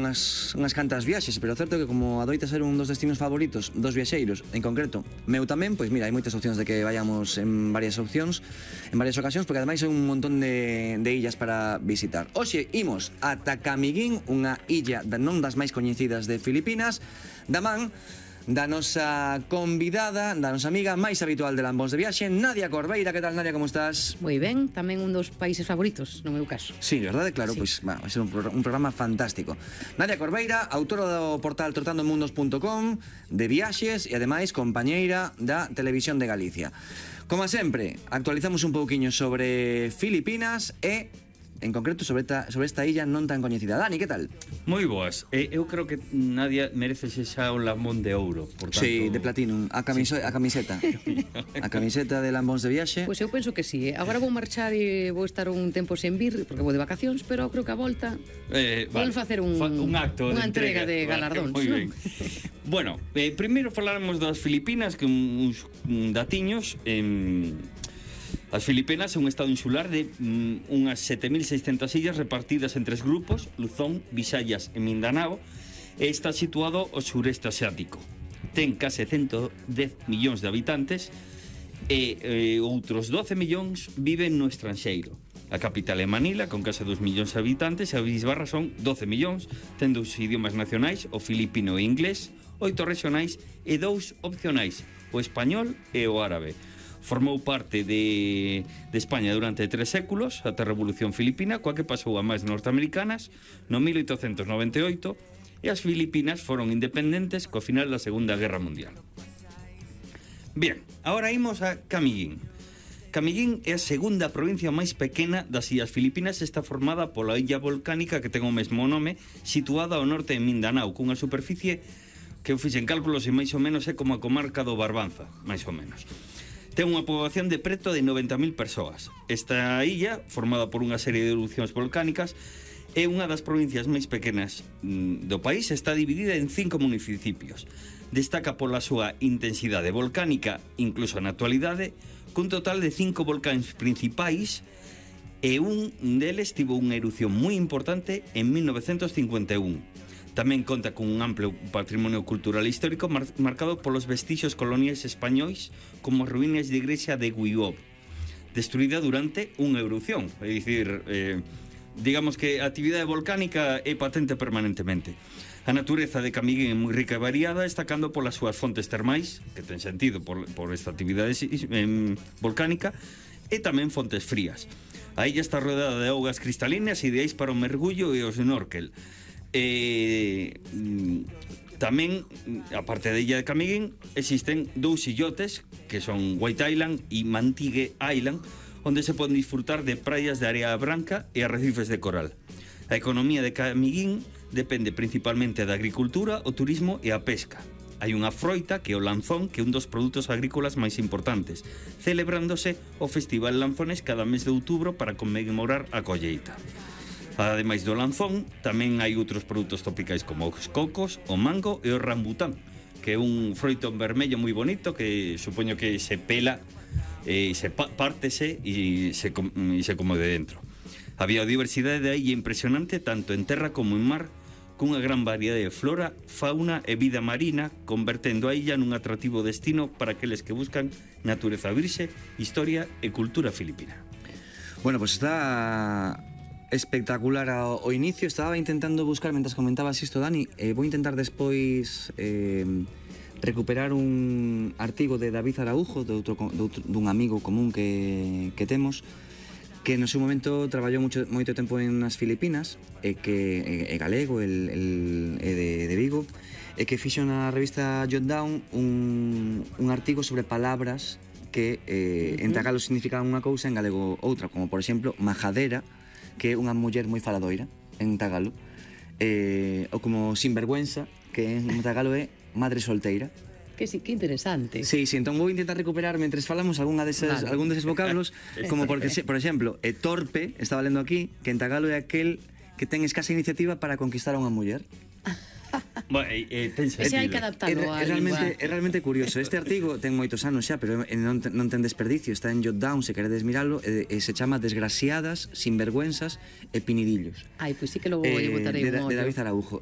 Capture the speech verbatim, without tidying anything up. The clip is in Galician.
unhas, unhas cantas viaxes, pero certo que como adoita ser un dos destinos favoritos dos viaxeiros, en concreto meu tamén, pois mira, hai moitas opcións de que vayamos en varias opcións, en varias ocasións, porque ademais hai un montón de, de illas para visitar. Hoxe imos ata Camiguín, unha illa non das máis coñecidas de Filipinas, da man da nosa convidada, da nosa amiga máis habitual de Lambóns de Viaxe, Nadia Corbeira. Que tal, Nadia, como estás? Moi ben, tamén un dos países favoritos, no meu caso. Sí, verdade? Claro, sí. Pois va, vai ser un, pro, un programa fantástico. Nadia Corbeira, autora do portal trotando mundos punto com, de viaxes e ademais compañeira da Televisión de Galicia. Como sempre, actualizamos un pouquiño sobre Filipinas e en concreto sobre esta, sobre esta illa non tan coñecida. Dani, que tal? Moi boas. Eh, eu creo que Nadia merece xa un lambón de ouro, por tanto... Sí, de platinum, a, camiso, sí. a camiseta. A camiseta de Lambóns de Viaxe. Pois pues eu penso que sí. Agora vou marchar e vou estar un tempo sen vir, porque vou de vacacións, pero creo que a volta eh, vale. vamos facer un, Fa, un acto unha de entrega, entrega de galardóns. Vale, moi ben. Bueno, eh, primeiro falaremos das Filipinas, que uns datiños... Eh, As Filipinas é un estado insular de mm, unhas sete mil seiscentas illas repartidas en tres grupos, Luzón, Visayas e Mindanao, e está situado ao sureste asiático. Ten case ciento dez millóns de habitantes e eh, outros doce millóns viven no estranxeiro. A capital é Manila, con case dos millóns de habitantes, e a bisbarra son doce millóns, tendo os idiomas nacionais, o filipino e o inglés, oito regionais e dous opcionais, o español e o árabe. Formou parte de, de España durante tres séculos, ata a Revolución Filipina, coa que pasou a máis norteamericanas no mil oitocentos noventa e oito, e as Filipinas foron independentes co final da Segunda Guerra Mundial. Bien, agora imos a Camiguín. Camiguín é a segunda provincia máis pequena das illas Filipinas, está formada pola illa volcánica que ten o mesmo nome, situada ao norte de Mindanao, cunha superficie que eu fixen cálculos e máis ou menos é como a comarca do Barbanza, máis ou menos. Ten unha poboación de preto de noventa mil persoas. Esta illa, formada por unha serie de erupcións volcánicas, é unha das provincias máis pequenas do país, está dividida en cinco municipios. Destaca pola súa intensidade volcánica, incluso na actualidade, cun total de cinco volcáns principais, e un deles tivo unha erupción moi importante en mil novecentos cincuenta e un. Tamén conta con un amplo patrimonio cultural histórico mar marcado polos vestixios coloniais españois, como as ruínas de igrexa de Guiop, destruída durante unha erupción. É dicir, eh, digamos que a actividade volcánica é patente permanentemente. A natureza de Camiguín é moi rica e variada, destacando polas súas fontes termais, que ten sentido por, por esta actividade eh, volcánica, e tamén fontes frías. A illa está rodeada de augas cristalinas ideais para o mergullo e o snorkel. Eh, tamén, aparte da illa de Camiguín, existen dous illotes que son White Island e Mantigue Island, onde se poden disfrutar de praias de area branca e arrecifes de coral. A economía de Camiguín depende principalmente da agricultura, o turismo e a pesca. Hai unha froita que é o lanzón, que é un dos produtos agrícolas máis importantes, celebrándose o Festival Lanzones cada mes de outubro para conmemorar a colleita. Ademais do lanzón, tamén hai outros produtos tropicais como os cocos, o mango e o rambután, que é un froito vermello moi bonito que supoño que se pela e se pártese e se, e se come de dentro. A biodiversidade de aí é impresionante tanto en terra como en mar, cunha gran variedade de flora, fauna e vida marina, convertendo a illa nun atractivo destino para aqueles que buscan natureza virxe, historia e cultura filipina. Bueno, pues está espectacular ao, ao inicio. Estaba intentando buscar, mentras comentabas isto, Dani, eh, vou intentar despois eh, recuperar un artigo de David Araujo, de outro, de outro, dun amigo común que, que temos, que no seu momento traballou mucho, moito tempo en as Filipinas, e que é galego, el, el, é de, de Vigo, e que fixo na revista Jot Down un, un artigo sobre palabras que eh, en tagalo significaban unha cousa, en galego outra, como por exemplo majadera, que é unha muller moi faladoira en tagalo, eh, ou como sinvergüenza, que en tagalo é madre solteira. Que sí, que interesante. Sí, sí, entón vou intentar recuperar mentres falamos algunha deses, vale. algún deses vocablos, como porque, por exemplo, é torpe, estaba lendo aquí, que en tagalo é aquel que ten escasa iniciativa para conquistar a unha muller. Bueno, eh, ten sentido. Ese hai que adaptarlo é, é, realmente, é realmente curioso. Este artigo ten moitos anos xa, pero non, non ten desperdicio. Está en Jot Down, se queredes miralo, e, e se chama Desgraciadas, Sinvergüenzas e Pinidillos. Ai, pois pues sí que logo eh, botarei un ollo. De David Araujo.